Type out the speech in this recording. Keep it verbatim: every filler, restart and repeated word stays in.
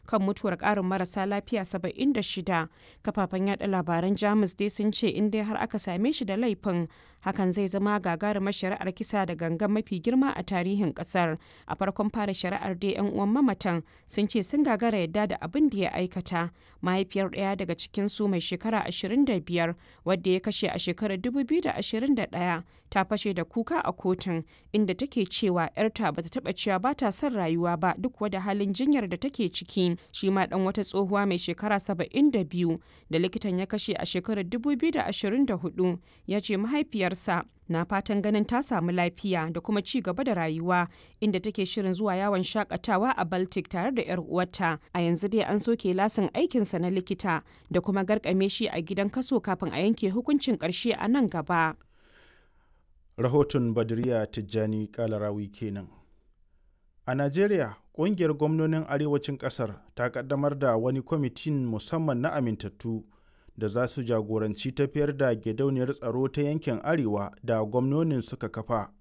Kan mutuwar ƙarin marasa lafiya saba'in da shida, kafafen yada labaran Jamus dai sun ce in dai har aka same shi da laifin, hakan zai zama gagarumar shari'ar kisa da gangan mafi girma a tarihin kasar. A farkon fara shari'ar dai, 'yan uwan mamatan sun ce sun gagara yadda da abin da ya aikata. Mahaifiyar ɗaya daga cikinsu mai shekara ashirin da biyar, wadda ya kashe a shekarar dubu biyu da ashirin da ɗaya, ta fashe da kuka a kotun, inda take cewa 'yarta bata taba cewa ba ta son rayuwa ba, duk wada halin jinyar da take ciki. Shi ma dan wata tsohuwa mai shekara saba'in da biyu da likitan ya kashe a shekarar dubu biyu da ashirin da huɗu ya ce mahaifiyarsa na fatan ganin ta samu lafiya da kuma ci gaba da rayuwa, inda take shirin zuwa yawon shakatawa a Baltic tare da 'yar uwarta. A yanzu dai an soke lasin aikinsa na likita da kuma garkame shi a gidan kaso kafin a yanke hukuncin karshe a nan gaba. Rahoton Badriya Tijjani Kalarawi kenan. A Najeriya, ƙungiyar gwamnonin arewacin ƙasar ta ƙaddamar da wani kwamitin musamman na amintattu da za su jagoranci tafiyar da gidauniyar tsaro ta yankin Arewa da gwamnonin suka kafa.